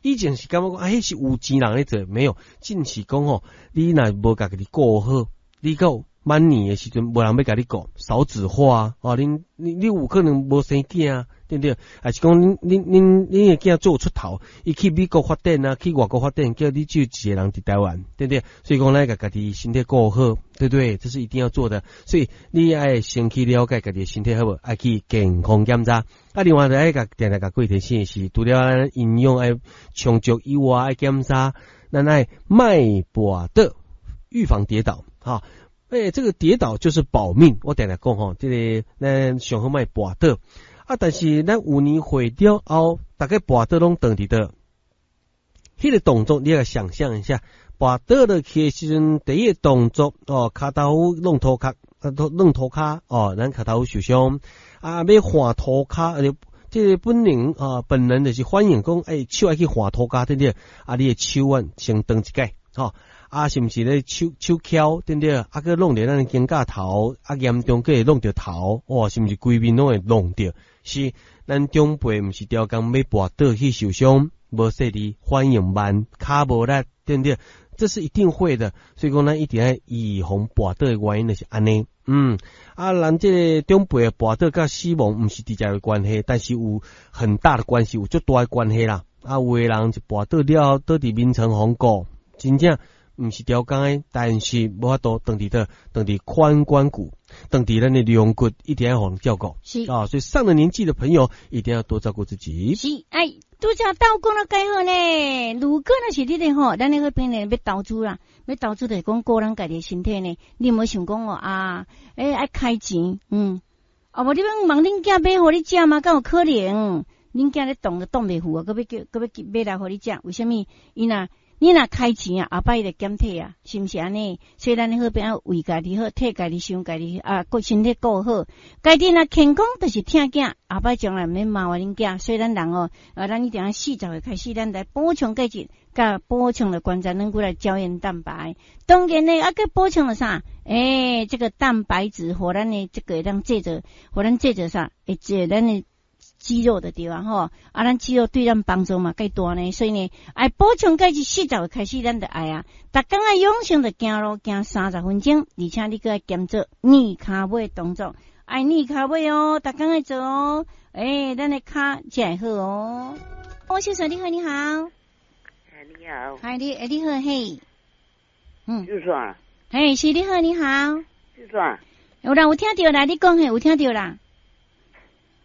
以前是感覺講啊，彼是有錢人咧做，沒有，只是講吼，你若無共家己顧好，你到晚年的時陣，無人欲共你顧，少子化啊，恁你有可能無生囝啊，對毋對？抑是講恁恁恁恁的囝做出頭，伊去美國發展啊，去外國發展，叫你只有一個人佇台灣，對毋對？所以講，咱共家己身體顧好，對不對？這是一定要做的。所以你愛先去了解家己的身體好無？愛去健康檢查。啊，另外就愛共定定共各位提醒的是，除了咱營養愛充足以外，愛檢查，咱愛莫跋倒，預防跌倒，哈。欸，這個跌倒就是保命。我定定講吼，這個咱上好莫跋倒啊。但是咱有年歲了後，逐家跋倒攏斷佇佗？彼個動作你來想象一下，跋倒落去的時陣，第一個動作哦，跤頭弄塗殼，弄塗跤哦，咱跤頭受傷啊，欲換塗跤，這個本能啊，本能就是反應講，欸，手愛去換塗跤，對不對？啊，你的手腕先斷一擺，吼。啊，是毋是咧手手翹，對毋對？啊，閣弄著咱的肩胛頭，啊，嚴重閣會弄著頭，哇，是毋是規面攏會弄著？是，咱長輩毋是刁工欲跋倒去受傷，無細膩，反應慢，跤無力，對毋對？這是一定會的，所以講咱一定愛預防跋倒的原因就是按呢。啊，人這個長輩跋倒佮死亡毋是直接的關係，但是有很大的關係，有足大的關係啦。啊，有的人就跋倒了後，倒佇眠床予顧，真正。毋是刁工的，但是無法度斷佇佗，斷佇髖關骨，斷佇咱的龍骨，一定愛予人照顧。啊，所以上了年紀的朋友一定要多照顧自己。是，哎，拄才鬥講了蓋好呢。如果若是你咧吼，咱咧好朋友欲投資啦，欲投資就是講顧咱家己的身體呢。你毋好想講哦啊，欸，愛開錢，啊無你欲問恁囝買予你食嗎？敢有可能？恁囝咧擋都擋袂赴啊，閣欲叫，閣欲買來予你食？為啥物？伊若你若開錢啊，後擺伊就檢體啊，是毋是按呢？所以咱好朋友為家己好，替家己想家己啊，顧身體顧好，家己若健康，就是疼囝，後擺將來毋免麻煩恁囝。所以咱人哦，啊，咱一定愛40歲開始，咱來補充鈣質，佮補充著關節軟骨來膠原蛋白。當然呢，啊，閣補充著啥？欸，這個蛋白質，予咱的這個會當製造，予咱製造啥？會製咱的肌肉就對啊吼，啊，咱肌肉對咱幫助嘛蓋大呢，所以呢，愛補充鈣質，四十歲開始咱就愛啊，逐工愛養成著行路行30分鐘，而且你閣愛兼做捏跤尾動作，愛捏跤尾哦，逐工愛做哦，欸，咱的跤才會好哦。王先生你好，你好。哎，你好。嗨，你欸，你好嘿。就說。嘿，是你好，你好。就說。有啦，有聽著啦，你講嘿，有聽著啦。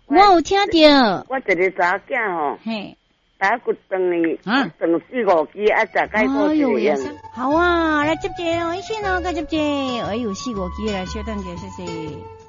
我有聽著。我一個查某囝吼，嘿，打骨斷去，斷四五支，啊，食解骨一個用。好啊，來接一個哦，醫生哦，來接一個。哎喲，四五支來，稍等一下，謝謝。